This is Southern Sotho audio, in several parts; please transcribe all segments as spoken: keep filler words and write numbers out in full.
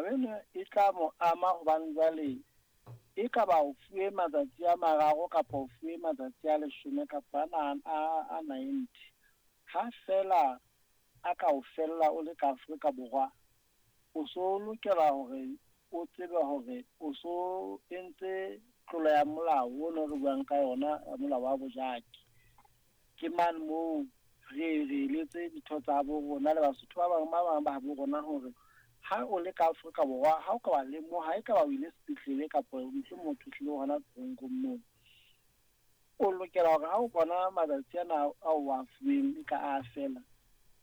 Taba ena e tla mo ama hobane jwale e ka ba o fuwe matsatsi a mararo kapa o fuwe matsatsi a leshome kapa a a a ninety. Ha fela a ka o fella o le ka Afrika Borwa, o so lokela hore o tsebe hore o so entse tlolo ya molao ono re buang ka yona ya molao wa bojaki. Ke mane moo re re eletse ditho tsa bo rona le Basotho ba bang ba bang ba bo rona hore ha o le ka Afrika Borwa, ha o ka wa lemoha e ka ba o ile sepetlele kapa mohlomong motho hlile hona toronkong moo, o lokela hore ha o bona matsatsi ana ao o a fuweng e ka a fela,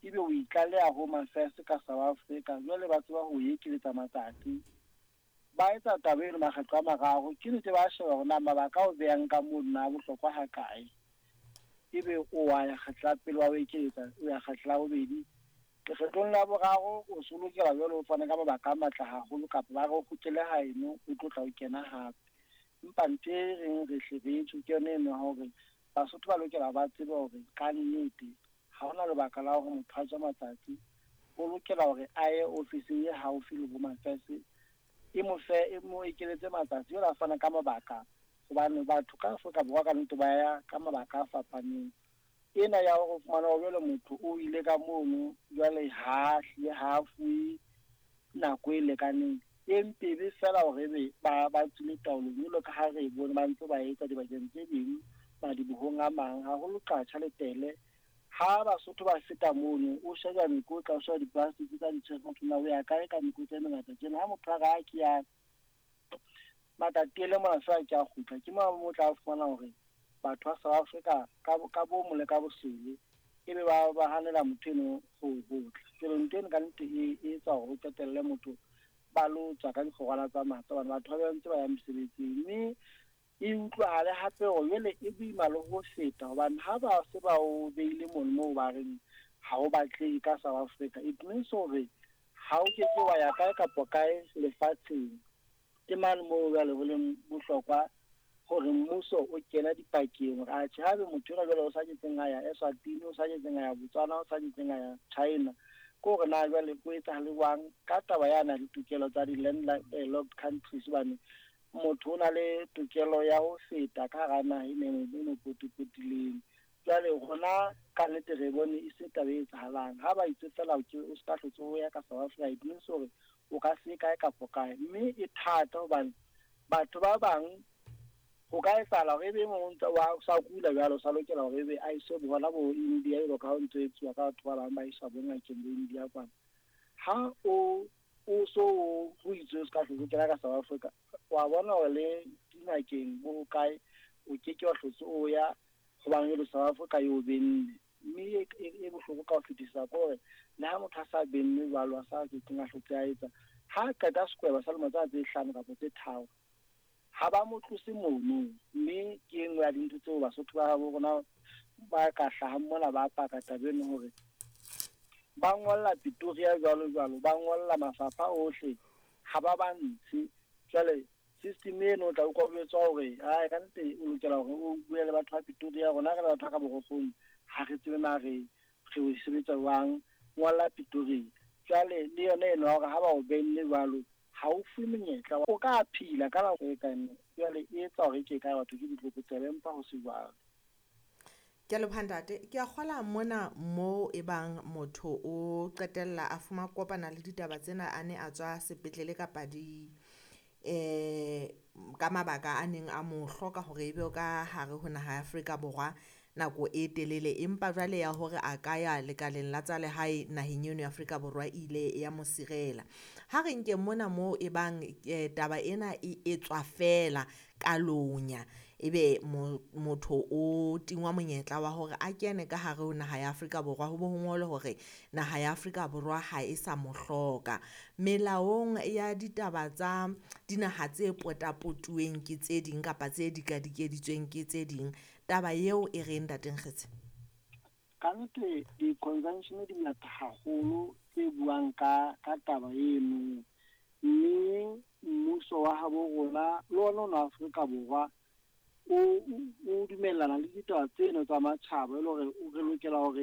ebe o itlaleha Home Affairs ka South Africa. Jwale ba tseba ho ekeletsa matsatsi. Ba etsa taba eno makgetlo a mararo. Ke nnete ba sheba hore na mabaka ao behang ka mono na a bohlokwa ha kae. Ebe o wa ya kgetlo la pele wa o ekeletsa, o ya kgetlo la bobedi. Lekgetlong la boraro o so lokela jwale o fane ka mabaka a matle haholo kapa ba re o kgutlele haeno o tlo tla o kena hape. Empa ntho e reng re hle re tjho ke yona eno ya hore Basotho ba lokela ba tsebe hore ka nnete ha hona lebaka la hore motho a tswe matsatsi. O lokela hore a ye ofising e haufi le Home Affairs e mo fe, e mo ekeletse matsatsi jwale a fana ka mabaka. Hobane batho ka Afrika Borwa ka nnete ba ya ka mabaka a fapaneng. Ena ya hore o fumana hore jwale motho o ile ka mono jwale ha hlile ha fuwe nako e lekaneng, e mpe ebe feela hore ebe ba ba tswile taolong jwalo ka ha re bone ba ntse ba etsa dibakeng tse ding madibohong a mang, haholo Qacha le Tele. Ha Basotho ba feta mono, o sheba mekotla, o sheba di-plastic tsa di tshwere motho na o ya kae ka mekotla e mengata tjena. Ha motho a re ha ke ya Matatiele mona feela ke a kgutla, ke moo mo tla fumana hore batho ba South Africa ka ka bomo le ka bosele ebe ba ba hanela motho eno ho ho tla. Jwale ntho eno ka nnete e e etsa hore o qetelle motho ba lo tswa ka dikgorwana tsa matla hobane batho ba ntse ba ya mesebetsing. Mme e utlwahale hape hore jwale e boima le ho feta hobane ha ba se ba o beile mono moo ba reng ha o batlehe ka South Africa, it means hore ha o keke wa ya kae kapa kae lefatsheng. Ke mane moo jwale ho leng bohlokwa hore mmuso o kena dipakeng hore atjhe haebe motho enwa jwale o sa ketseng a ya Eswatini, o sa ketseng a ya Botswana, o sa ketseng a ya China, ke hore na jwale ho etsahale jwang ka taba yana ditokelo tsa di-landlocked countries. Hobane motho o na le tokelo ya ho feta ka hara naha e e mo potapotileng. Jwale rona ka nnete re bone e se taba e etsahalang. Ha ba itse feela o o ska hlotse o ya ka South Africa, it means hore o ka se kae kapa kae. Mme e thata hobane batho ba bang ho ka etsahala hore ebe e mong o ntse wa sa kula jwalo, o sa lokela hore ebe a iswe hona bo India jwalo ka ha ho ntso etsuwa ka batho ba bang ba iswa bo ngakeng bo India kwana. Ha o o so ho itswe o ska hlotse o kena ka South Africa, wa bona hore le dingakeng bo kae o keke wa hlotse o ya hobane jwale South Africa e o benne. Mme e e bohloko ka ho fetisisa ke hore le ha motho a sa bennwe jwalo, a sa kekeng a hlotse a etsa, ha qeta sekweba sa lemo tsena tse hlano kapa tse tharo, ha ba mo tlose mono. Mme ke e nngwe ya dintho tseo Basotho ba habo rona ba ka hlahang mona ba paka taba eno hore ba ngolla Pretoria jwalo jwalo, ba ngolla mafapha ohle, ha ba ba ntshe. Jwale system eno o tla utlwa o jwetswa hore ae ka nnete o lokela hore o bue le batho ba Pretoria. Rona re le batho ba ka Borokgong ha re tsebe na re re o sebetsa jwang, ngolla Pretoria. Jwale le yona eno ya hore ha ba o benne jwalo ha o fuwe monyetla, o ka phila ka nako e kae. Jwale e etsa hore ke kae batho ke ditlokotsebe empa ho se jwalo. Ke a leboha ntate. Ke a kgola mona mo e bang motho o qetella a fuma kopana le ditaba tsena a ne a tswa sepetlele kapa di eh ka mabaka a neng a mo hloka hore ebe o ka hare ho naha ya Afrika Borwa nako e telele, empa jwale ya hore a ka ya lekaleng la tsa lehae naheng eno ya Afrika Borwa e ile ya mo sirela. Ha re nke mona mo e bang taba ena e etswa feela ka lonya, ebe motho o tingwa monyetla wa hore a kene ka hare ho naha ya Afrika Borwa, ho bo ho ngolwe hore naha ya Afrika Borwa ha e sa mo hloka. Melaong ya ditaba tsa dinaha tse potapotuweng ke tse ding kapa tse dikadikeditsweng ke tse ding, taba eo e reng ntate Nkgetse? Ka nnete di-convention di ngata haholo tse buang ka ka taba eno, mme mmuso wa habo rona le ona ona Afrika Borwa o o dumellana le ditaba tseno tsa matjhaba e le hore re lokela hore